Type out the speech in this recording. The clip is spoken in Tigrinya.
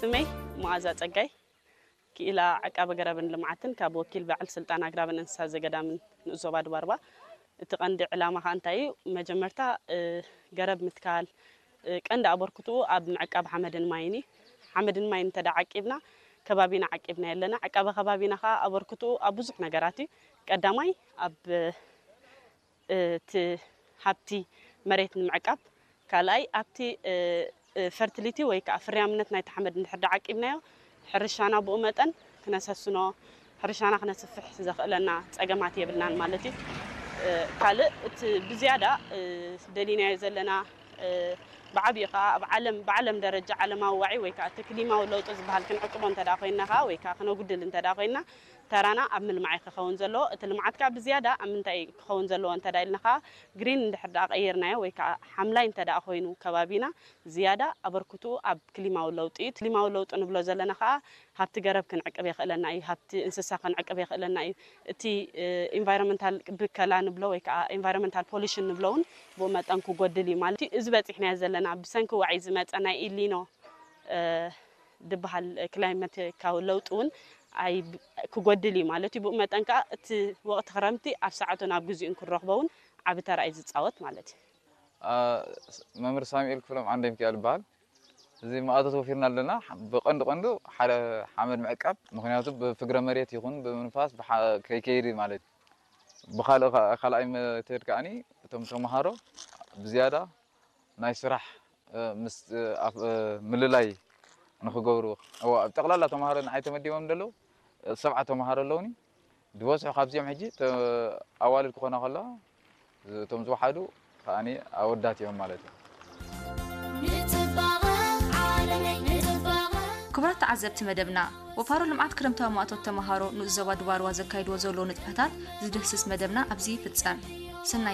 ስመይ መዓዛ ጸጋይ፣ ክኢላ ዕቃበ ገረብን ልምዓትን ካብ ወኪል በዓል ስልጣን ኣግራብን እንስሳ ዘገዳምን ንኡስ ዞባ ድባርባ። እቲ ቀንዲ ዕላማ ከኣ እንታይ እዩ? መጀመርታ፣ እ፣ ገረብ ምትካል፣ እ፣ ቀንዲ ኣበርክትኡ ኣብ ምዕቃብ ሓመድን ማይን እዩ። ሓመድን ማይን እንተ ደኣ ዓቂብና፣ ከባቢና ዓቂብና የለና። ዕቃበ ከባቢና ከኣ ኣበርክትኡ ኣብ ብዙሕ ነገራት እዩ። ቀዳማይ ኣብ እቲ ሃብቲ መሬት ንምዕቃብ፣ ካልኣይ ኣብቲ፣ እ፣ እ፣ ፈርቲሊቲ ወይ ከኣ ፍርያምነት ናይቲ ሓመድ እንድሕር ደኣ ዓቂብናዮ፣ ሕርሻና ብኡ መጠን ክነሰስኖ፣ ሕርሻና ክነስፍሕ ዘኽእለና ጸገማት የብልናን ማለት እዩ። እ፣ ካልእ እቲ ብዝያዳ፣ እ፣ ደሊናዮ ዘለና፣ እ፣ ብዓቢኡ ከኣ ኣብ ዓለም፣ ብዓለም ደረጃ ዓለማዊ ዋዒ ወይ ከኣ እቲ ክሊማዊ ለውጢ ዝበሃል ክንዕቅቦ እንተ ደኣ ኮይንና ከኣ ወይ ከኣ ክነጉድል እንተ ደኣ ኮይንና፣ ተራና ኣብ ምልማዕ እዩ ክኸውን ዘለዎ። እቲ ልምዓት ከኣ ብዝያዳ ኣብ ምንታይ እዩ ክኸውን ዘለዎ እንተ ደኣ ኢልና ከኣ፣ ግሪን እንድሕር ደኣ ቀይርናዮ ወይ ከኣ ሓምላይ እንተ ደኣ ኮይኑ ከባቢና፣ ዝያዳ ኣበርክትኡ ኣብ ክሊማዊ ለውጢ እዩ። ክሊማዊ ለውጢ ንብሎ ዘለና ከኣ፣ ሃብቲ ገረብ ክንዕቅብ የኽእለና እዩ፣ ሃብቲ እንስሳ ክንዕቅብ የኽእለና እዩ። እቲ፣ እ፣ ኢንቫይሮንመንታል ብከላ ንብሎ ወይ ከኣ ኢንቫይሮንመንታል ፖሊሽን ንብሎ እውን ብኡ መጠን ክጎድል እዩ ማለት እዩ። እዚ በጺሕናዮ ዘለና ብሰንኪ ዋዒ ዝመጸ ናይ ኢሊኖ፣ እ፣ ዝበሃል ክላይመታዊ ለውጢ እውን ኣይ-፣ ክጎድል እዩ ማለት እዩ። ብኡ መጠን ከኣ እቲ ወቕቲ ክረምቲ ኣብ ሰዓቱን ኣብ ግዜኡን ክንረኽቦ እውን ዓቢ ተራ እዩ ዝጻወት ማለት እዩ። አ፣ መምህር ሳሙኤል ክፍሎም ዓንደ ሚካኤል ይበሃል። እዚ መኣቶት ወፊርና ኣለና። ብቐንዱ ቀንዱ ሓደ ሓመድ ምዕቃብ፣ ምኽንያቱ ብፍግረ መሬት ይኹን ብምንፋስ ብሓ-፣ ከይከይድ ማለት እዩ። ብኻልእ ኻ-፣ ካልኣይ መትድ ከኣኒ እቶም ተምሃሮ ብዝያዳ ናይ ስራሕ፣ እ፣ ምስ፣ እ፣ ኣፍ-፣ እ፣ ምልላይ ንኽገብሩ። እዋ፣ ኣብ ጠቕላላ ተምሃሮ ንዓይ ተመዲቦም ዘለዉ፣ እ፣ ሰብዓ ተምሃሮ ኣለዉኒ። ዝበዝሑ ካብዚኦም ሕጂ ተ-፣ ኣዋልድ ክኾና ከለዋ፣ እቶም ዝወሓዱ ከኣኒ ኣወዳት እዮም ማለት እዩ። ንጽባቐ ዓለመይ ንጽባቐ። ክቡራት ተዓዘብቲ መደብና፣ ወፋሮ ልምዓት ክረምታዊ ማእቶት ተምሃሮ ንኡስ ዞባ ድባርዋ ዘካይድዎ ዘለዉ ንጥፈታት ዝድህስስ መደብና ኣብዚ ይፍጸም። ሰናይ